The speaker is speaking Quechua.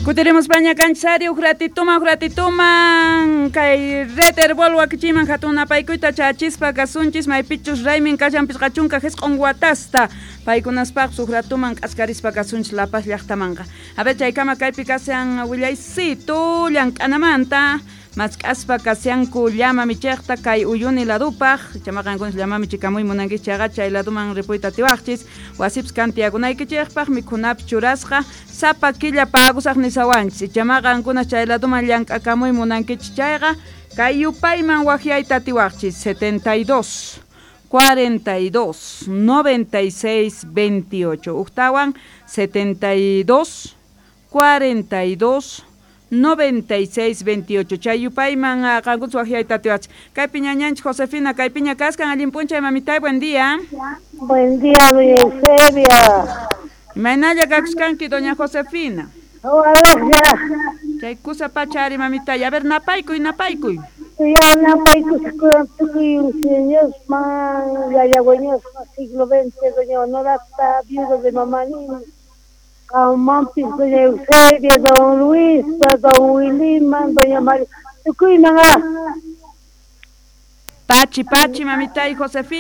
Kutirimuspaña kanchis huk ratituman, huk ratituman kay Red Herbol wakichiman hatun napaykuyta chachispa kasunchis maypichus raymin kashan 59 watasta paykunaspaqpis huk ratuman k'askarispa kasunchis La Paz llaqtamanqa. A ver, chaykama kaypi kashan willaysitu llank'anamanta mask'aspa kashanku llama michiqta kay Uyuni ladupaq chamaqankunas llama michikamuy munankichis chayqa chay laduman ripuyta atiwaqchis wasipis kan tiyakunaykichikpaq mikhunapis churasqa sapa killa pagusaq nisawanchis chamaqankunas chay laduman llank'akamuy munankichis chayqa kay yupayman waqyayta atiwaqchis 72 42 96 28 uktawan 72 42 96 28 chay yupayman qankunas waqyayta atiwaqchis kaypi ñañanchik Josefina kaypiña kaskan allin p'unchay mamitay, buen día. Buen día, doña Eusebia. Imaynalla kakuskanki, doña Josefina? Hola. Chay kusa pachari, mamitay. A ver, napaykuy, napaykuy. Ya napaykusqa tukuy señorman, yaya wiñasman, siglo XX, doña Honorata, viuda de Mamanín, Mampis, doña Eusebia, don Luis, don Williman, doña María, tukuyman. Pachi, pachi, mamitay Josefina.